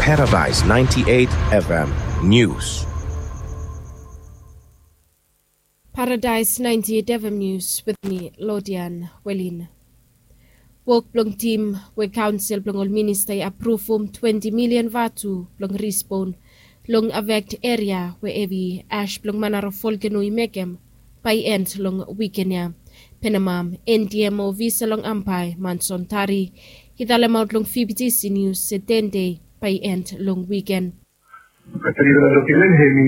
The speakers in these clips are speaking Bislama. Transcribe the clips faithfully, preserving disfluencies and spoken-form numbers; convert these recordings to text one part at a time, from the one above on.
Paradise ninety-eight F M News. Paradise ninety-eight F M News with me, Lodian Welin. Wok blong tim we kaonsel blong ol minista i apruvum twenti milian vatu blong respon long afekt eria we hevi ash blong Manara volkeno i mekem bae i end long wiken ya. Penamam, N D M O ofisa long Ambae, Manson Tari, i talemaot long V B T C News se ten dei bae i end long wiken. Katrina dokumen hemi,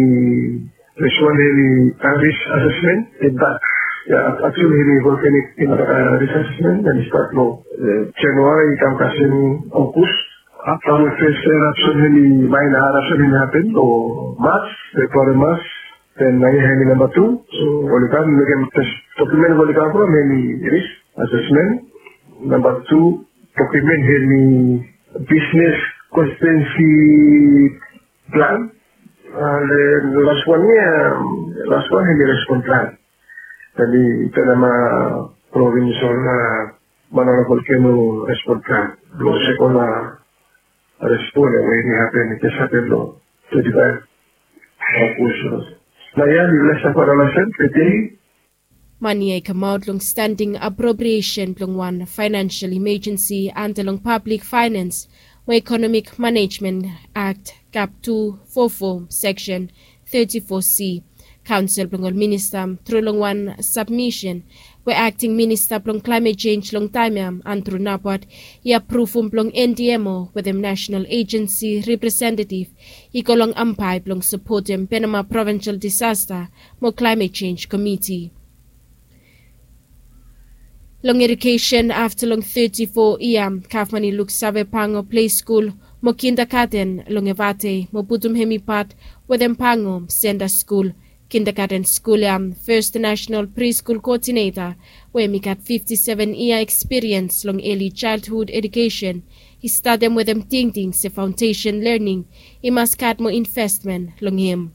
first one hemi, uh, risk assessment, e bak. Ya, actually hemi volcanic, uh, risk assessment, hemi stat long, uh, January i kam kasem August. Afta long first eruption hemi, minor eruption hemi hapen long March, February, March. Then nao hemi namba tu. So oli kam mekem first dokumen oli kam from hemi risk assessment. Namba tu dokumen hemi business constituency plan. Uh, the last one ya, last one hemi respon plan. Tadi ita nama provincial, uh, Manara volcano respon plan. Blong sekon, uh, respon ya we i hapen, i jes hapen long twenty-five August. Nao ya mi lesa fara lesen tede. Mani ya i kamaot long standing appropriation blong wan financial emergency anda long Public Finance mo Economic Management Act, kap two four four, section thirty-four C. Kaonsel blong ol minista, tru long wan sabmisen we akting minista blong klaemet jenj long taem ya, Andrew Nabwat, i apruvum blong N D M O wetem national agency representative i go long Ambae blong sapotem Penama Provincial Disaster mo Klaemet Jenj Komiti. Long edukesen, afta long teti fo yia, gavman i luksave Pango Plei Skul mo Kindagaten long Efate mo putum hemi pat wetem Pango Senta Skul. Kindagaten skul ya, First National Preschool Coordinator we hemi gat fifti seven yia ekspiriens long early childhood edukesen, i statem wetem tingting se faondesen lening i mas gat moa investmen long hem.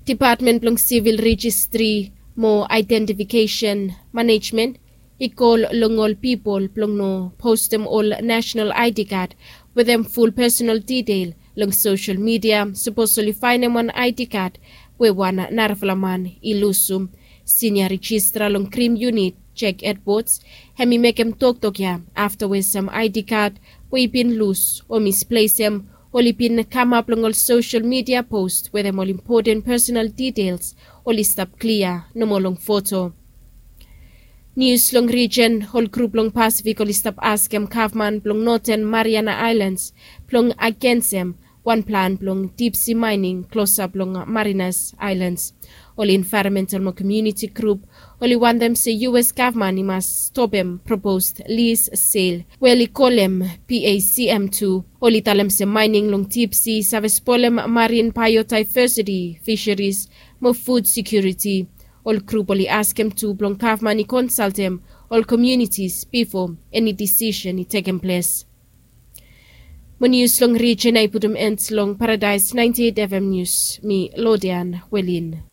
Dipatmen blong Sivil Rejistri mo Aedentifikesen Manejmen i kol long ol pipol blong no postem ol nasenal I D kad wetem ful pesonal detail long sosel midia sapos oli faenem wan I D kad we wan narafala man i lusum. Sinia rejistra long krim yunit, Jack Edwards, hemi mekem toktok ya afta we sam I D kad we i bin lus o misplesem oli bin kamap long ol sosel midia pos wetem ol impoten pesonal details oli stap klia nomo long foto. Nius long rijen, ol grup long Pasifik oli stap askem gavman blong Noten Mariana Aelans blong agensem wan plan blong dipsi maening klosap long Marianas Aelans. Ol envaeronmental mo komuniti grup oli wantem se U S gavman i mas stopem propos lis sel we oli kolem P A C M tu. Oli talem se maening long dipsi save spolem marin baeodaevesiti, fiseris mo fud sekiuriti. Ol grup oli askem tu blong gavman i konsaltem ol komunitis bifo eni disisen i tekem ples. Mo nius long rijen ya i putum en long Paradaes naenti eit F M Nius, mi Lodian Welin.